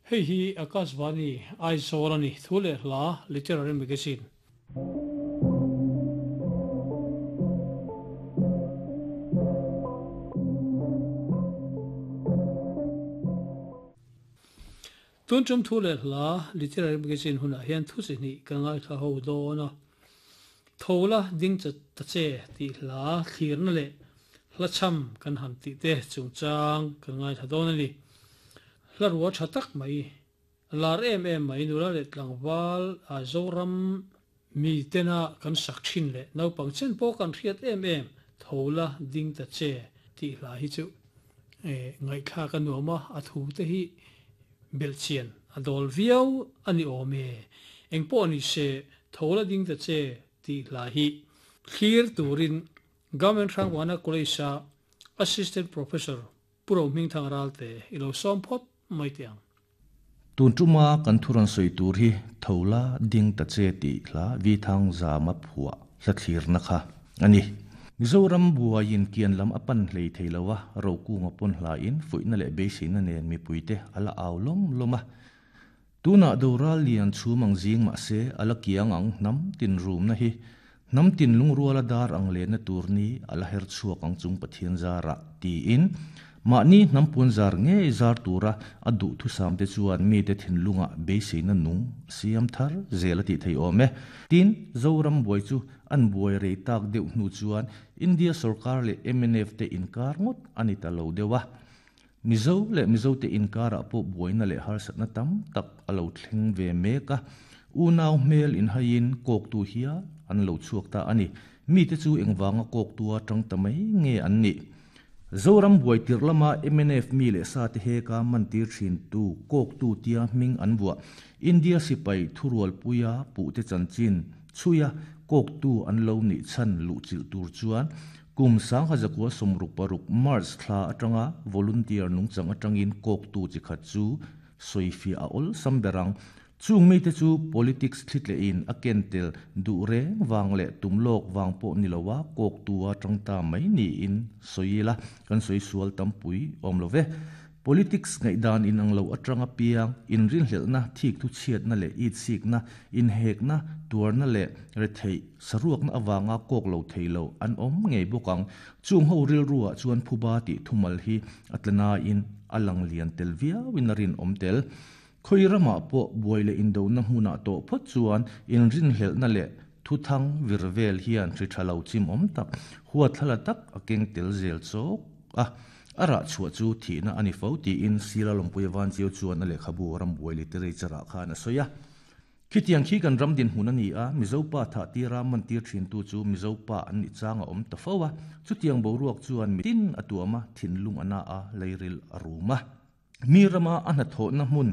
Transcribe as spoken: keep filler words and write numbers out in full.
Hei hi Akashvani Aizawl a ni, thu leh hla Literary Magazine. Tun tum thu leh hla Literary Magazine hunah hian thu chi hnih ka ngaithla ho dawn a. Tho la ding cha ta che tih hla thlirna leh hla cham kan han tih te chungchang kan ngaithla dawn a ni. Hla rua tha tak mai, lar em em mai nula leh tlangval a Zoram mi tena kan sak thin leh naupang chen pawh kan hriat em em tho la ding ta che tih hla hi chu ngaihthlak a nuam a, a thu te hi belhchian a dawl viau a ni awm e. Engpawh ni se tho la ding ta che tih hla hi thlir turin Government Hrangwana College-a Assistant Professor Pu Rohmingthang Ralte i lo sawm phawt mai teh ang. Tun tuma kan thuran sawi tur hi tho la ding ta che tih hla vi thang zama phuah hla thlirna kha a ni. Mizoram buaiin kian lam a pan hlei thei lo a, rokunga pawn hlain fuihna leh beiseina nen mipuite a la au lawm lawm a. Tunah doral lian chhum ang zing mahse a la kiang ang hnam tin rumna hi hnam tin lungruala dar ang lehna tur ni a la her chhuak ang chung Pathian zarah tiin mahni hnam puan zar ngei zar tura a duh thusam te chuan mi te thinlunga beiseina nung siam thar zel a tih thei awm e. Tin, Zoram buai chu an buai rei tak deuh hnu chuan India sarkar leh M N F te inkar ngawt a ni ta lo deuh a. Mizo leh Mizo te inkarah pawh buaina leh harsatna tam tak a lo thleng ve mek a. Unau hmel inhaiin kawktu hial an lo chhuak ta a ni. Mi te chu engvanga kawktua tang ta mai nge an ni. Zoram buai tir lama M N F mi leh sa te heka mantir thin tu kawktu tia hming an buah. India sipai thurual puia puh te chanchin chhuia kawktu an lo ni chan luh chilh tur chuan kum sang hazakua somruk paruk March thla atanga volunteer nungchang atangin kawktu chi khat chu soifi a ol samberang chung mi te chu politics thlitle in a kentel du reng wang le tumlok wang pawh nilowa kawktua tangta mai ni in soila kan soi sual tampui awm love. Politics ngai dan in ang lo atanga piang in rin hlelna thik thu chiat na le it sik na in hek na tuar na le re thei saruak na awanga kok lo thei lo an awm ngei bawkang chung ho ril ruwa chuan phuba ti thumal hi atlana in alang lian tel viau in rin awm tel. Khoi rama pawh buai le indo na hmuna to phawt chuan in rin hlelna le thu thang virvel hian ri tha lo chim awm tak huat thlala tak a keng tel zel chawk a. Ara chhuah chu thihna ani fo tiin sila lawmpui van chiu chuan a lehkhabu ram buai literature ah khan a sawi a. Khitiang khi kan ram din hmun a ni a, Mizopa tha tira man tir thin tu chu Mizopa an ni changa awm ta fo a. Chutiang boruak chuan mitin a tuama thinlung ana a leiril a ruma. Mi rama a hna thawhna hmun